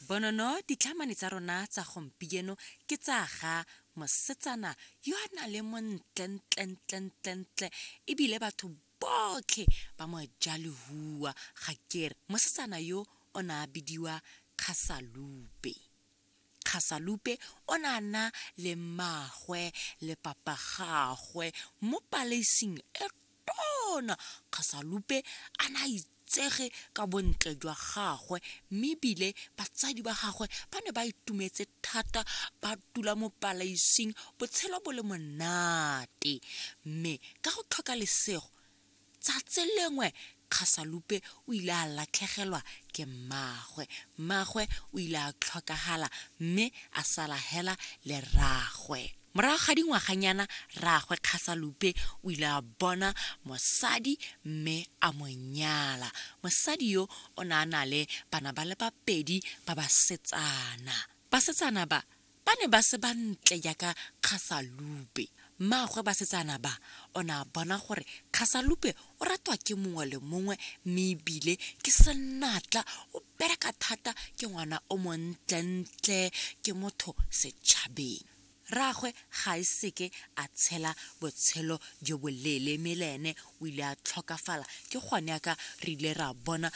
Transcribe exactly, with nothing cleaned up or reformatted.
Bonono, ditlhamane tsa rona tsa gompieno ke tsa ga mosetsana yo a nang le montlentlentlentlentle, ebile batho botlhe ba mo ja lehua. Ga kere mosetsana yo o ne a bidiwa Kgasalupe. Kgasalupe o ne a na le mmagwe le papa gagwe mo paleising e tona. Kgasalupe a na a itsege ka bontle jwa gagwe, mme ebile batsadi ba gagwe ba ne ba itumetse thata, ba dula mo paleising, botshelo bo le monate. Mme ka go tlhoka lesego, tsatsi lengwe Kgasalupe o ile a latlhegelwa ke mmagwe. Mmagwe o ile a tlhokagala mme a sala hela le rragwe. Morago ga dingwaganyana, rragwe Kgasalupe o ile a bona mosadi mme a mo nyala. Mosadi yo o ne a na le bana ba le babedi ba basetsana. Basetsana ba ba ne ba se bantle jaaka Kgasalupe. Mmaagwe basetsana ba o ne a bona gore Kgasalupe o ratwa ke mongwe le mongwe, mme ebile ke senatla, o bereka thata, ke ngwana o montlentle, ke motho setšhabeng. Rragwe ga e seke a tshela botshelo jo boleele, mme le ene o ile a tlhokafala. Ke gone yaka re ile ra bona